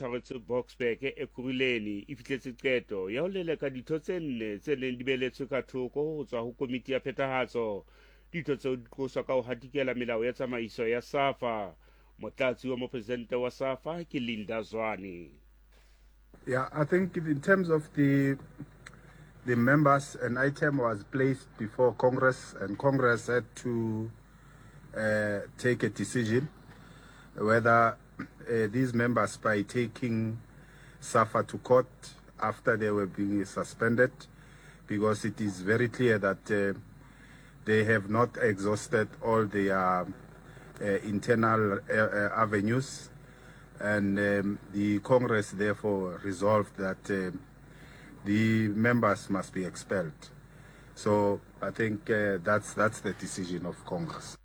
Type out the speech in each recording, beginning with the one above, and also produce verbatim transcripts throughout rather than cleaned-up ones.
tshwaretswe Boksburg Ekurhuleni e fihletse qeto ya ho leleka ditho tse nne tse neng di beletswe ka thoko ho tswa ho komiti ya phethahatso. Ditho tseo di qoswa ka ho hatikela melao ya tsamaiso ya SAFA. Motlatsi wa mopresidente wa SAFA ke Linda Zwane. Yeah, I think in terms of the the members, an item was placed before Congress, and Congress had to uh, take a decision whether uh, these members, by taking SAFA to court after they were being suspended, because it is very clear that uh, they have not exhausted all their uh, internal uh, uh, avenues, and um, the Congress therefore resolved that uh, the members must be expelled. So I think uh, that's that's the decision of Congress.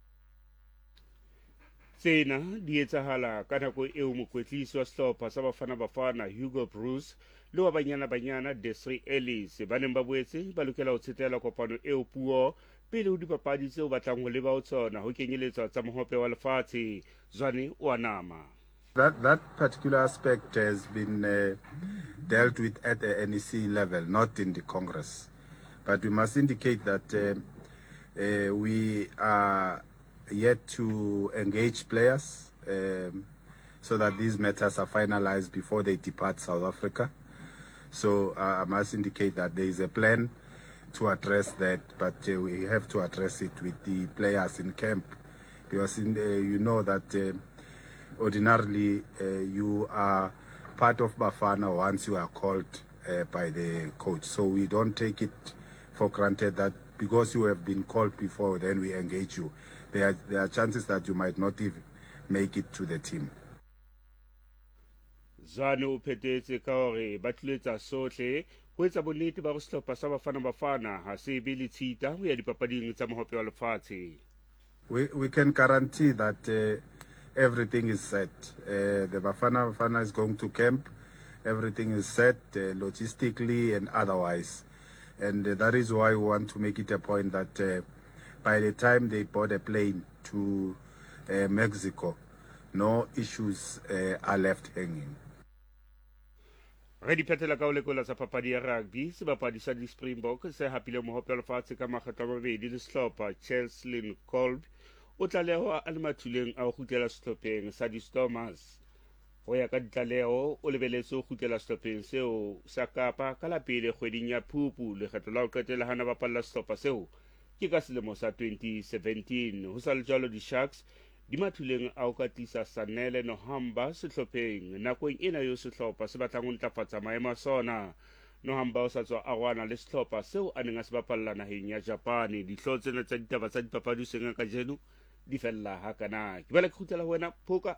Tsena di etsahala ka nako eo mokwetlisi wa sehlopha sa Bafana Bafana Hugo Broos le wa Banyana Banyana Desiree Ellis ba neng ba boetse ba lokela ho tsetela kopano eo puo pele ho dipapadi tseo batlang ho leba ho tsona ho kenyeletswa tsa mohope wa lefatshe. Zwane o a nama. That that particular aspect has been uh, dealt with at the N E C level, not in the Congress. But we must indicate that uh, uh, we are yet to engage players um, so that these matters are finalized before they depart South Africa. So uh, I must indicate that there is a plan to address that, but uh, we have to address it with the players in camp because in, uh, you know that uh, ordinarily uh, you are part of Bafana once you are called uh, by the coach. So we don't take it for granted that because you have been called before, then we engage you. There are, there are chances that you might not even make it to the team. Zwane o phethetse ka hore ba tlilo etsa sohle ho etsa bonnete ba hore sehlopha sa Bafana Bafana ha se be le tshita ho ya dipapading tsa mohope wa lefatshe. We, we can guarantee that uh, everything is set. Uh, the Bafana Bafana is going to camp. Everything is set uh, logistically and otherwise. And uh, that is why we want to make it a point that uh, by the time they board a plane to uh, Mexico, no issues uh, are left hanging. Re di phethela ka ho lekola tsa papadi ya rugby. Sebapadi sa di-Springbok se hapileng mohope wa lefatshe ka makgetlo a mabedi le sehlopha, Cheslin Kolbe, o tlalehwa a le mathuleng a ho kgutlela sehlopheng sa di-Stormers. Ho ya ka ditlaleho, o lebeletse ho kgutlela sehlopheng seo sa Kapa ka la pele kgweding ya Phupu. Lekgetlo la ho qetela hana bapalla sehlopha seo ke ka selemo sa twenty seventeen. Ho sa le jwalo, di-Sharks di mathuleng a ho ka tlisa Sanele Nohamba sehlopheng nakong ena eo sehlopha se batlang ho ntlafatsa maemo a sona. Nohamba o sa tswa arohana le sehlopha seo a neng a se bapalla naheng ya Japane. Dihlooho tsena tsa ditaba tsa dipapadi hoseng kajeno di fella hakana. Ke bala ke kgutlela ho wena Phoka.